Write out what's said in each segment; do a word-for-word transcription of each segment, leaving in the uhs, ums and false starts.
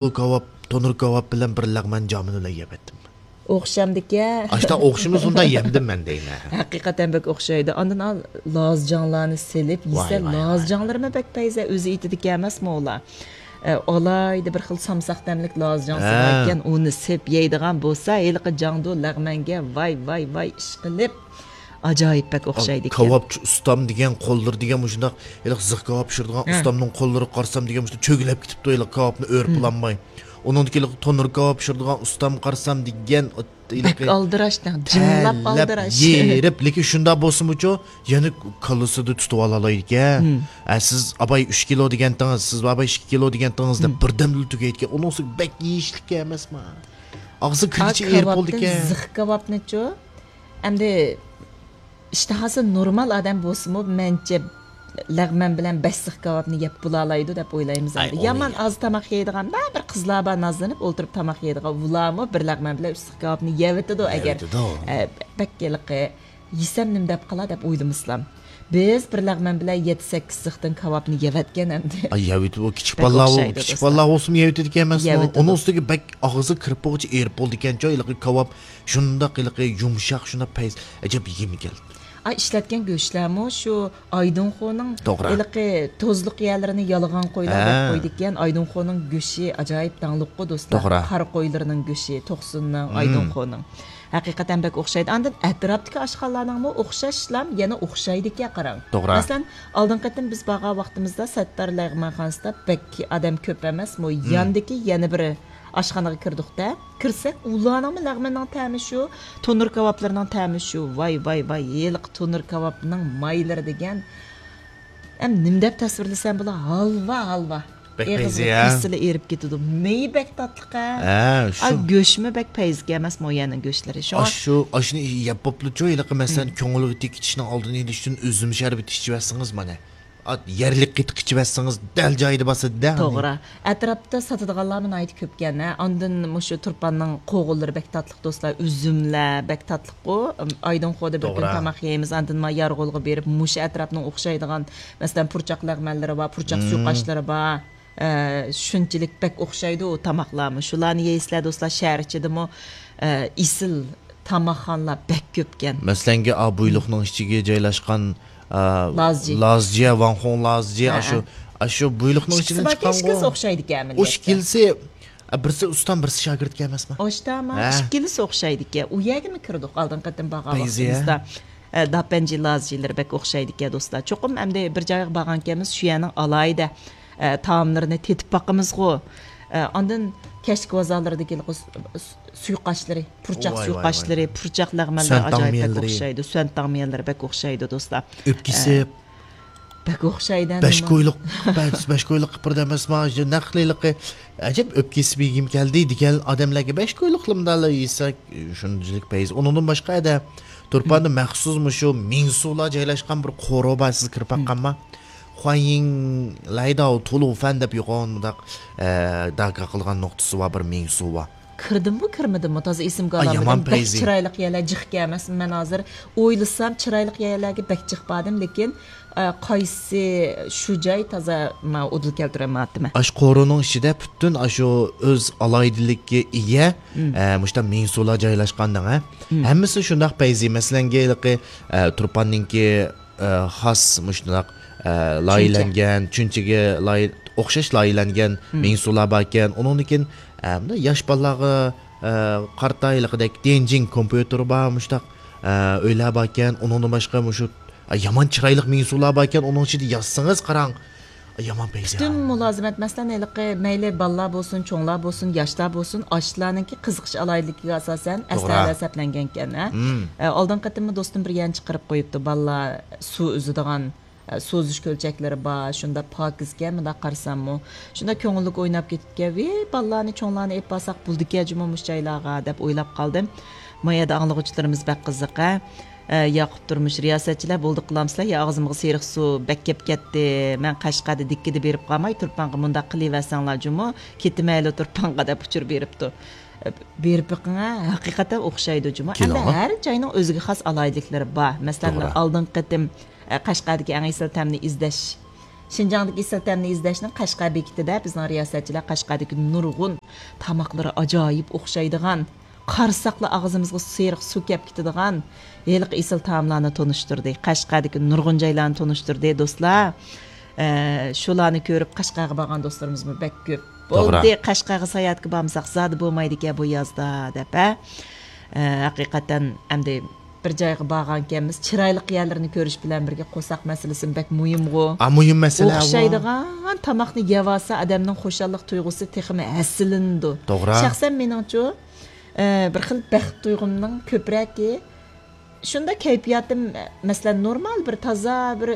بۇ كاۋاپ، تونۇر كاۋاپ بىلەن بىر لەغمەن جامىنى بىلەن يەۋەتتىم. ئوخشامدىكەن. ئاشتا ئوخشىمىسۇندا يەمدىم مەن دەيمەن. ھەقىقەتەن بەك ئوخشايدۇ. ئاندىن ئال، لازجاڭلارنى سېلىپ يېسە، ۋاي، ۋاي، ۋاي. لازجاڭلىرىمۇ بەك پەيزە، ئۆزى ئېيتىدىكەن ئەمەسمۇ ئۇلار. ئە، ئالاھىدە بىر خىل سامساق تەملىك لازجاڭسى ھە. بار ئىكەن، ئۇنى سېپ يەيدىغان بولسا، ھېلىقى جاڭدۇ لەغمەنگە ۋاي، ۋاي، ۋاي، ئىشقىلىپ. ئاجايىپ بەك ئوخشايدىكەن. كاۋاپچى ئۇستام دېگەن قوللىرى دېگەن مۇشۇنداق، ھېلىقى زىخ كاۋاپ پىشۇرىدىغان ھە. ئۇستامنىڭ قوللىرىغا قارىسام دېگەن مۇشۇنداق چۆگىلەپ كېتىپتۇ، ھېلىقى كاۋاپنى ئۆرۈپ بولالماي. ئۇنىڭدىكى ھېلىقى تونۇر كاۋاپ پىشۇرىدىغان ئۇستامغا قارىسام دېگەن، ھېلىقى بەك ئالدىراش، جىملاپ تەرلەپ، ئالدىراش. يېرىپ، لېكىن شۇنداق بولسىمۇچۇ، يەنە كاللىسىدا تۇتۇپ ئالالايدىكەن. ھە، سىز ئاباي ئۈچ كىلو دېگەنتىڭىز، سىز ئاباي ئىككى كىلو دېگەنتىڭىز دەپ بىردەمدىلا تۈگەيدىكەن. ئۇنىڭ ئۈستىگە بەك يېيىشلىك ئەمەسما؟ ئاغزى كىرگۈچە ئېرىپ بولىدىكەن. زىخ كاۋاپنىچۇ؟ ئەمدى ئىشتىھاسى نورمال ئادەم بولسىمۇ، مەنچە لەغمەن بىلەن بەش زىخ كاۋاپنى يەپ بولالايدۇ دەپ ئويلايمىز ئەمدى. يامان ئاز تاماق يەيدىغان، بەزى بىر قىزلار بار نازلىنىپ ئولتۇرۇپ تاماق يەيدىغان، ئۇلارمۇ بىر لەغمەن بىلەن ئۈچ زىخ كاۋاپنى يەۋېتىدۇ ئەگەر، يەۋېتىدۇ. ئە، بەك ھېلىقى يېسەم نېمە دەپ قالا دەپ ئويلىمىسىلام. بىز بىر لەغمەن بىلەن يەتتە سەككىز زىختىن كاۋاپنى يەۋەتكەن ئەمدى. ئاي، يەۋېتىدۇ. ئۇ كىچىك بالىلار، كىچىك بالىلار بولسىمۇ يەۋېتىدىكەن ئەمەسمۇ؟ ئۇنىڭ ئۈستىگە بەك ئاغزى كىرىپ بولغۇچە ئېرىپ بولىدىكەنچۇ، ھېلىقى كاۋاپ شۇنداق ھېلىقى يۇمشاق، شۇنداق پەيز، ئەجەب يېگۈم كەلدى. ئاي، ئىشلەتكەن گۆشلەرمۇ شۇ ئايدىڭخۇنىڭ توغرا. ھېلىقى توزلۇق يەرلىرىنى يالىغان قويلاردەك ھە. قويىدىكەن. ئايدىڭخۇنىڭ گۆشى ئاجايىپ داڭلىققۇ، دوستلار. توغرا. قارا قويلىرىنىڭ گۆشى، توقسۇننىڭ، مم. ئايدىڭخۇنىڭ. ھەقىقەتەن بەك ئوخشايدۇ. ئاندىن ئەتراپتىكى ئاشخانىلارنىڭمۇ ئوخشاشلا يەنە ئوخشايدىكەن، قاراڭ. توغرا. مەسىلەن، ئالدىنقى قېتىم بىز بارغان ۋاقتىمىزدا سەتتار لەغمەنخانىسىدا بەك ئادەم كۆپ ئەمەسمۇ، مم. ياندىكى يەنە بىر ئاشخانىغا كىردۇقتە، كىرسەك، ئۇلارنىڭمۇ لەغمىنىنىڭ تەمى شۇ، تونۇر كاۋاپلىرىنىڭ تەمى شۇ. ۋاي، ۋاي، ۋاي، ھېلىقى تونۇر كاۋاپنىڭ مايلىرى دېگەن. ئەم، نېمە دەپ تەسۋىرلىسەم بولا؟ ھالۋا، ھالۋا. بەك ئېغىزغا پەيزى، ھە؟ كىرسىلا ئېرىپ كېتىدۇ. مېيى بەك تاتلىق، ھە؟ ھە، ئا، شۇ. گۆشمۇ بەك پەيزىكەن ئەمەسمۇ يەنە گۆشلىرى. شۇڭا ئاشۇ، ئاشۇنى يەپ بوپلۇچۇ، ھېلىقى مەسىلەن، مم. كۆڭۈلگە تېگىشنىڭ ئالدىنى ئېلىش ئۈچۈن ئۈزۈم شەربىتى ئىچىۋەتسىڭىز، مانا. ئا، يەرلىك قېتىق ئىچىۋەتسىڭىز، دەل جايىدا باسىدۇ-دە. توغرا. ئەتراپتا ساتىدىغانلارمۇ ناھايىتى كۆپكەن، ھە. ئاندىن مۇشۇ تۇرپاننىڭ قوغۇنلىرى بەك تاتلىق، دوستلار. ئۈزۈملەر بەك تاتلىققۇ. ئايدىڭخۇدا بىر كۈن توغرا. تاماق يەيمىز، ئاندىن ما يارغولغا بېرىپ، مۇشۇ ئەتراپنىڭ ئوخشايدىغان، مەسىلەن، پۇرچاق لەغمەنلىرى بار، پۇرچاق مم. سۇيۇقئاشلىرى بار. ئە، شۇنچىلىك بەك ئوخشايدۇ ئۇ تاماقلارمۇ. شۇلارنى يەيسىلەر، دوستلار، شەھەر ئىچىدىمۇ، ئە، ئېسىل تاماقخانىلار بەك كۆپكەن. مەسىلەنگە، ئا، بۇيلۇقنىڭ ئىچىگە جايلاشقان، ئا، لازجى. لازجى، ۋاڭخۇڭ لازجى، ھە، ئاشۇ، ھە. ئاشۇ بۇيلۇقنىڭ ئىچىدىن ئىككىسى باركەن، چىققانغۇ. ئىككىسى ئوخشايدىكەن ئۇ ئەمەلىيەتتە. ئىككىلىسى، ئا، بىرسى ئۇستام، بىرسى شاگىرتكەن ئەمەسمۇ؟ ئاشتاما، ھە. ئىككىلىسى ئوخشايدىكەن. ئۇ يەرگىمۇ كىردۇق ئالدىنقى قېتىم بارغان پەيزىيە. ۋاقتىمىزدا. ئە، داپەنجى لازجىلىرى بەك ئوخشايدىكەن، دوستلار. چوقۇم ئەمدى بىر جايغا بارغانكەنمىز، شۇ يەرنىڭ ئالاھىدە، ئە، تائاملىرىنى تېتىپ باقىمىزغۇ. ئە، ئاندىن كەچلىك بازارلىرىدىكى س-، س-، سۇيۇقئاشلىرى، پۇرچاق ۋاي، ۋاي، سۇيۇقئاشلىرى، ۋاي. پۇرچاق لەغمەنلىرى سۈەنتاڭ ئاجايىپ بەك مېيەلىرى. ئوخشايدۇ. سۈەنتاڭ مېيەلىرى بەك ئوخشايدۇ، دوستلار. ئۆپكىسى. ئە، بەك ئوخشايدۇ، بەش نېمە؟ كويلۇق، بەش، بەش كويلۇق قىپىردى ئەمەسما؟ نەق ھېلىقى، ئەجەب ئۆپكىسى بېگىم كەلدى دېگەن ئادەملەرگە بەش كويلۇقلىمدالا يېسەك، شۇنچىلىك پەيز. ئۇنىڭدىن باشقا، ئەدە، تۇرپاندا مم. مەخسۇس مۇشۇ مىڭسۇلار جايلاشقان بىر قورۇ بار، سىز كىرىپ مم. باققانما؟ خۇايىڭ لايداۋ تولۇ فەن دەپ يوغان مۇنداق، ئە، داكا قىلغان نۇقتىسى بار، بىر مىڭسۇ بار. كىردىممۇ، كىرمىدىممۇ، تازا ئېسىمگە ئا، ئالالمىدىم. يامان بەك پەيزى. چىرايلىق يەرلەر جىقكەن ئەمەسمۇ؟ مەن ھازىر ئويلىسام، چىرايلىق يەرلەرگە بەك جىق باردىم، لېكىن، ئە، قايسى شۇ جاي تازا مانا ئۇدۇل كەلتۈرەلمەيۋاتىمەن. ئاشۇ قورۇنىڭ ئىچىدە پۈتۈن ئاشۇ ئۆز ئالاھىدىلىككە ئىگە، مم. ئە، مۇشۇنداق مىڭسۇلار جايلاشقان دەڭە. مم. ھەممىسى شۇنداق پەيزى. مەسىلەنگە، ھېلىقى، ئە، تۇرپاننىڭكى ئە، خاس مۇشۇنداق، ئە، چۈنچە. لايىھەلەنگەن، چۈنچىگە لايىھ-، ئوخشاش لايىھەلەنگەن مم. مىڭسۇلار باركەن. ئۇنىڭدىن كېيىن، ئە، مۇنداق ياش بالىلارغا، ئە، قارىتا ھېلىقىدەك تيەنجىن كومپيۇتېرى بار، مۇشۇنداق، ئە، ئۆيلەر باركەن. ئۇنىڭدىن باشقا مۇشۇ، ئە، يامان چىرايلىق مىڭسۇلار باركەن. ئۇنىڭ ئىچىدە يازسىڭىز قاراڭ، ئە، يامان پەيزى. پۈتۈن مۇلازىمەت، مەسىلەن، ھېلىقى مەيلى بالىلار بولسۇن، چوڭلار بولسۇن، ياشلار بولسۇن، ئاشۇلارنىڭكى قىزىقىش ئالاھىدىلىكىگە ئاساسەن توغرا. ئەسلىھەلەر سەپلەنگەنكەن، ھە؟ مم. ئە، ئالدىنقى قېتىممۇ دوستۇم بىر يەرنى چىقىرىپ قويۇپتۇ، بالىلار سۇ ئۈزىدىغان، ئە، سۇ ئۈزۈش كۆلچەكلىرى بار، شۇنداق پاكىزكەن، مۇنداق قارىساممۇ. شۇنداق كۆڭۈللۈك ئويناپ كېتىپتىكەن. ۋىي، بالىلارنى، چوڭلارنى ئېلىپ بارساق بولىدىكەن جۇمۇ مۇشۇ جايلارغا، دەپ ئويلاپ قالدىم. ما يەردە ئاڭلىغۇچىلىرىمىز بەك قىزىق، ھە؟ ئە، ياقۇپ تۇرمۇش، رىياسەتچىلەر بولدى قىلامسىلەر، يا ئاغزىمغا سېرىق سۇ بەك كەپ كەتتى، مەن قەشقەردە دىككىدە بېرىپ قالماي، تۇرپانغا مۇنداق قىلىۋەرسەڭلار جۇمۇ، كېتىمەيلى تۇرپانغا، دەپ ئۇچۇر بېرىپتۇ. بېرىپ بېقىڭە، ھەقىقەتەن ئوخشايدۇ جۇمۇ. ئەمدى كېلىڭە. ھەر جاينىڭ ئۆزىگە خاس ئالاھىدىلىكلىرى بار. مەسىلەن، توغرا. ئالدىنقى قېتىم، ئە، قەشقەردىكى ئەڭ ئېسىل تەمنى ئىزدەش شىنجاڭدىكى ئېسىل تەمنى ئىزدەشنىڭ قەشقەر بېكىتىدە بىزنىڭ رىياسەتچىلەر قەشقەردىكى نۇرغۇن تاماقلىرى ئاجايىپ ئوخشايدىغان، قارىساقلا ئاغزىمىزغا سېرىق سۇ كەپ كېتىدىغان ھېلىقى ئېسىل تائاملارنى تونۇشتۇردى. قەشقەردىكى نۇرغۇن جايلارنى تونۇشتۇردى، دوستلار. ئە، شۇلارنى كۆرۈپ قەشقەرگە بارغان دوستلىرىمىزمۇ بەك كۆپ. توغرا. بولدى، قەشقەرگە ساياھەتكە بارمىساق زادى بولمايدىكەن بۇ يازدا، دەپ، ھە. ئە، ھەقىقەتەن ئەمدى بىر جايغا بارغانكەنمىز، چىرايلىق يەرلىرىنى كۆرۈش بىلەن بىرگە قورساق مەسىلىسىمۇ بەك مۇھىمغۇ. ئا، مۇھىم مەسىلە ئۇ. ئوخشايدىغان تاماقنى يەۋالسا، ئادەمنىڭ خۇشاللىق تۇيغۇسى تېخىمۇ ھەسسىلىنىدۇ. توغرا. شەخسەن مېنىڭچۇ، ئە، بىر خىل بەخت تۇيغۇمنىڭ كۆپرەكى شۇنداق كەيپىياتىم، مەسىلەن، نورمال بىر تازا بىر،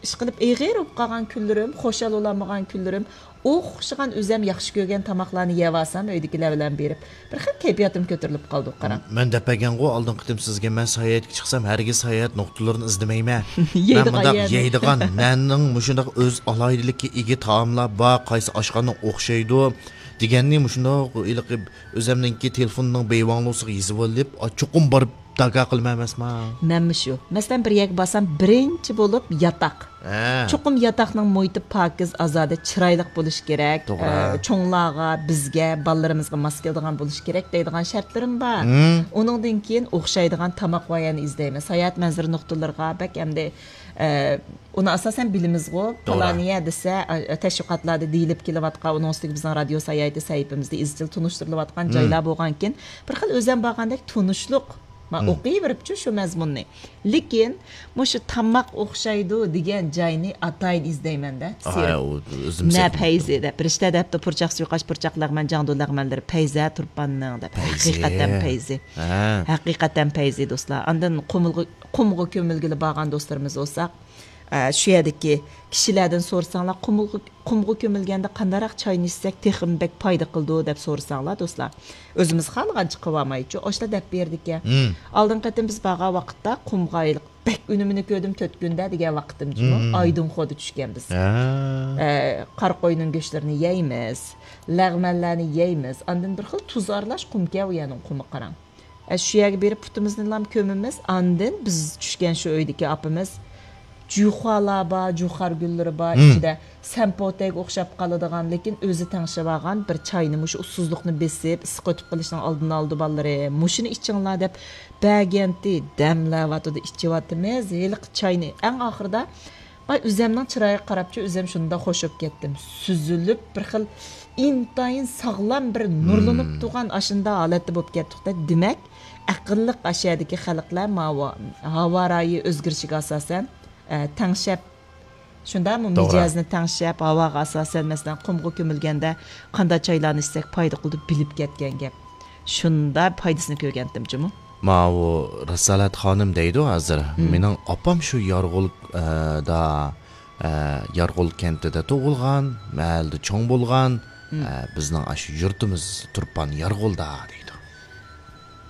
ئىشقىلىپ ئېغىر بولۇپ قالغان كۈنلىرىم، خۇشال بولالمىغان كۈنلىرىم، ئوخشىغان ئۆزەم ياخشى كۆرگەن تاماقلارنى يەۋالسام، ئۆيدىكىلەر بىلەن بېرىپ، بىر خىل كەيپىياتىم كۆتۈرۈلۈپ قالىدۇ، قاراڭ. مەن دەپ بەرگەنغۇ ئالدىنقى قېتىم سىزگە، مەن ساياھەتكە چىقسام، ھەرگىز ساياھەت نۇقتىلىرىنى ئىزدىمەيمەن. مەن يەيدىغان مۇنداق يەرنى. يەيدىغان، مەننىڭ مۇشۇنداق ئۆز ئالاھىدىلىككە ئىگە تائاملار بار، قايسى ئاشخانا ئوخشايدۇ دېگەننى مۇشۇنداق ھېلىقى ئۆزەمنىڭكى تېلېفوننىڭ بىۋاڭلۇسىغا يېزىۋېلىپ، ئا، چوقۇم بارىپ داكا قىلىمەن ئەمەسما؟ مەنمۇ شۇ. مەسىلەن، بىر يەرگە بارسام، بىرىنچى بولۇپ ياتاق. ھە. چوقۇم ياتاقنىڭ مۇھىتى پاكىز، ئازادە، چىرايلىق بولۇشى كېرەك. توغرا. ئە، چوڭلارغا، بىزگە، بالىلىرىمىزغا ماس كېلىدىغان بولۇشى كېرەك دەيدىغان شەرتلىرىم بار. مم. ئۇنىڭدىن كېيىن ئوخشايدىغان تاماق ۋايەنى ئىزدەيمەن. ساياھەت مەنزىرە نۇقتىلىرىغا بەك ئەمدى، ئە، ئۇنى ئاساسەن بىلىمىزغۇ، توغرا. پالانىيە دېسە، ئە، تەشۋىقاتلاردا دېيىلىپ كېلىۋاتقان، ئۇنىڭ ئۈستىگە بىزنىڭ رادىيو ساياھىتى سەھىپىمىزدە ئىزچىل تونۇشتۇرۇلۇۋاتقان مم. جايلار بولغانكىن، بىر خىل ئۆزەم بارغاندەك تونۇشلۇق. ما، مم. ئوقۇۋېرىپچۇ شۇ مەزمۇننى. لېكىن مۇشۇ تاماق ئوخشايدۇ دېگەن جاينى ئاتايىن ئىزدەيمەن-دە، ئاي، سېرىق. ئۇ ئۆزۈم نە سېتىپ پەيزى دەپ. رىشتە دەپتۇ، پۇرچاق سۇيقاش، پۇرچاق لەغمەن، جاڭدۇ لەغمەنلىرى پەيزى تۇرپاننىڭ دەپ. پەيزى. ھەقىقەتەن پەيزى. ھە. ھەقىقەتەن پەيزى، دوستلار. ئاندىن قۇمۇلغا، قۇمغا كۆمۈلگىلى بارغان دوستلىرىمىز بولسا، ئە، شۇ يەردىكى كىشىلەردىن سورىساڭلار، قۇمۇلغا، قۇمغا كۆمۈلگەندە قانداقراق چاينى ئىچسەك تېخىمۇ بەك پايدا قىلىدۇ دەپ سورىساڭلار، دوستلار. ئۆزىمىز خالىغانچە قىلىۋالمايچۇ، ئاشۇلار دەپ بېرىدىكەن. مم. ئالدىنقى قېتىم بىز بارغان ۋاقىتتا قۇمغا ھېلىقى بەك ئۈنۈمىنى كۆردۈم تۆت كۈندە دېگەن ۋاقتىمچۇ، مم. ئايدىڭخودا چۈشكەن بىز. ھە. ئە، قارا قوينىڭ گۆشلىرىنى يەيمىز، لەغمەنلەرنى يەيمىز، ئاندىن بىر خىل تۇز ئارىلاش قۇمكەن، ئۇ يەرنىڭ قۇمى قاراڭ. ئە، شۇ يەرگە بېرىپ پۇتىمىزنىلا كۆمىمىز، ئاندىن بىز چۈشكەن شۇ ئۆيدىكى ئاپىمىز جۇخۇالار بار، جۇخار گۈللىرى بار، مم. ئىچىدە سەمپوتەگە ئوخشاپ قالىدىغان، لېكىن ئۆزى تەڭشەۋالغان بىر چاينى، مۇشۇ ئۇسسۇزلۇقنى بېسىپ، ئىسسىق ئۆتۈپ قېلىشنىڭ ئالدىنى ئالىدۇ بالىلىرى. مۇشۇنى ئىچىڭلار دەپ بەرگەنتى، دەملەۋاتىدۇ، ئىچىۋاتىمىز. ھېلىقى چاينى ئەڭ ئاخىرىدا، ئاي، ئۆزەمنىڭ چىرايىغا قاراپچۇ، ئۆزەم شۇنداق خوش بولۇپ كەتتىم. سۈزۈلۈپ، بىر خىل ئىنتايىن ساغلام، بىر نۇرلىنىپ مم. تۇرغان ئاشۇنداق ھالەتتە بولۇپ كەتتۇق-دە. دېمەك، ئەقىللىق ئاشۇ يەردىكى خەلقلەر ماۋۇ ھاۋا رايى ئۆزگىرىشىگە ئاساسەن، ئە، تەڭشەپ، شۇنداقمۇ؟ توغرا. مىجەزنى تەڭشەپ، ھاۋاغا ئاساسەن، مەسىلەن، قۇمغا كۆمۈلگەندە قانداق چايلارنى ئىچسەك پايدا قىلىدۇ بىلىپ كەتكەن گەپ. شۇنداق پايدىسىنى كۆرگەنتىم جۇمۇ. ماۋۇ رىسالەت خانىم دەيدۇ ھازىر. مم. مېنىڭ ئاپام شۇ يارغول، ئە، دا، ئە، يارغول كەنتىدە تۇغۇلغان، مەھەللىدە چوڭ بولغان، مم. ئە، بىزنىڭ ئاشۇ يۇرتىمىز تۇرپان يارغولدا دەيدۇ.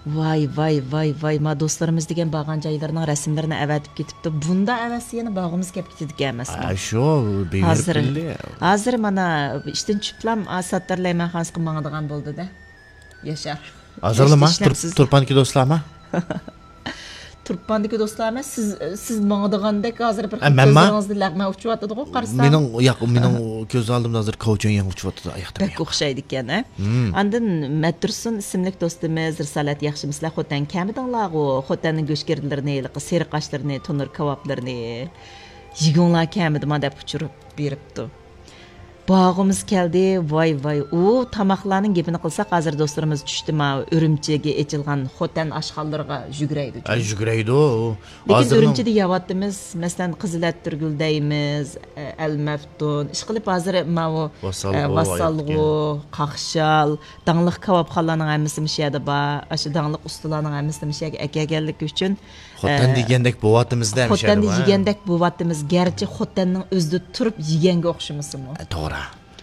ۋاي، ۋاي، ۋاي، ۋاي، ما دوستلىرىمىز دېگەن بارغان جايلىرىنىڭ رەسىملىرىنى ئەۋەتىپ كېتىپتۇ. بۇنداق ئەۋەتسە يەنە بارغۇمىز كەپ كېتىدىكەن ئەمەسمۇ؟ ئە، شۇ، بېرىپ ھازىر، كېلدى. ھازىر مانا ئىشتىن چۈشۈپلام، ئا، ساتتارلار مېھمانخانىسىغا ماڭىدىغان بولدى-دە. ياشار. ھازىرلىما، ياشتا تۇر-، ئىشلەپسىز. تۇرپاندىكى دوستلارما؟ تۇرپاندىكى دوستلار ئەمەس، سىز، سىز ماڭىدىغاندەك ھازىر بىر ئە، مەنما؟ كۆزلىرىڭىزدە لەغمەن ئۇچۇۋاتىدىغۇ، قارىسام. مېنىڭ، ياق، مېنىڭ كۆز ئالدىمدا ھازىر كاۋچۈن يەڭ ئۇچۇۋاتىدۇ، ئاياقتا. بەك ئوخشايدىكەن، ھە؟ مم. ئاندىن مەتتۇرسۇن ئىسىملىك دوستىمىز، رىسالەت ياخشىمۇسىلەر؟ خوتەن كەمىدىڭلارغۇ؟ خوتەننىڭ گۆشگىردىلىرىنى، ھېلىقى سېرىق ئاشلىرىنى، تونۇر كاۋاپلىرىنى يېگۈڭلار كەمىدىما دەپ ئۇچۇر بېرىپتۇ. بارغۇمىز كەلدى، ۋاي، ۋاي. ئۇ تاماقلارنىڭ گېپىنى قىلساق، ھازىر دوستلىرىمىز چۈشتى، ماۋۇ ئۈرۈمچىگە ئېچىلغان خوتەن ئاشخانىلىرىغا يۈگۈرەيدۇ. ئە، يۈگۈرەيدۇ. لېكىن ھازىرنىڭ ئۈرۈمچىدە يەۋاتىمىز، مەسىلەن، قىزىل ئەتىرگۈل دەيمىز، ئە، ئەلمەفتۇن، ئىشقىلىپ ھازىر ماۋۇ، ۋاسالغۇ، ئە، ۋاسالغۇ، ئايتكەن. قاقشال، داڭلىق كاۋاپخانىلارنىڭ ھەممىسى مۇشۇ يەردە بار. ئاشۇ داڭلىق ئۇستىلارنىڭ ھەممىسىنى مۇشۇ يەرگە ئەكەلگەنلىكى ئۈچۈن خوتەندە ئە، يېگەندەك بوۋاتىمىز-دە، خوتەندە يېگەندەك بوۋاتىمىز، گەرچە خوتەننىڭ ئۆزىدە تۇرۇپ يېگەنگە ئوخشىمىسىمۇ؟ ئە، توغرا.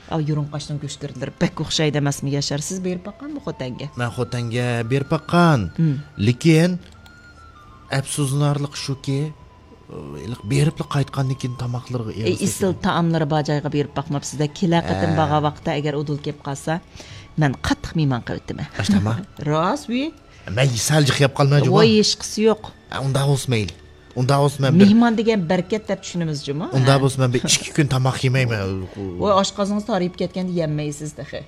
ئاۋۇ يۇرۇڭقاشنىڭ گۆشگىردىلىرى بەك ئوخشايدۇ ئەمەسمۇ، ياشار؟ سىز بېرىپ باققانمۇ خوتەنگە؟ مەن خوتەنگە بېرىپ باققان. ھىم. لېكىن ئەپسۇسلىنارلىقى شۇكى، ھېلىقى بېرىپلا قايتقاندىن كېيىن تاماقلىرىغا ئېغىز ئېسىل تېگىدۇ. تائاملىرى بار جايغا بېرىپ باقماپسىز-دە. كېلەر قېتىم ھە. بارغان ۋاقىتتا ئەگەر ئۇدۇل كېلىپ قالسا، مەن قاتتىق مېھمان قىلىۋېتىمەن. ئاشتاما؟ راست، ۋى. مەن سەل جىق يەپ قالماي جۇمۇ. ۋاي، ھېچقىسى يوق. ئە، ئۇنداق بولسا مەيلى. ئۇنداق بولسا مەن بىر، مېھمان دېگەن بەرىكەت دەپ چۈشىنىمىز جۇمۇ. ئۇنداق بولسا مەن بىر ئىككى كۈن تاماق يېمەيمەن. ۋاي، ئاشقازىنىڭىز تارىيىپ كەتكەندە يەممەيسىز تېخى.